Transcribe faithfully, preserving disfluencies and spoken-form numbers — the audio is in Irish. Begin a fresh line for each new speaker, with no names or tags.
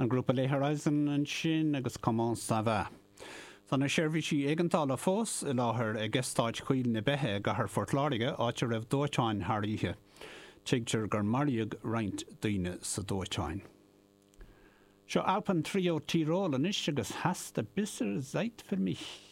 An grúpa Les Horizons ansin agus Comment ça va. Tá na seirbhísí éigeandála fós i láthair ag Eastát Choill na Beithe i gcathair Phort Láirge áit a raibh dóiteán thar oíche. Tuigtear gur maraíodh roinnt daoine sa dóiteán. Seo Alpentrio Tirol anois agus Hast a bisserl Zeit für mich.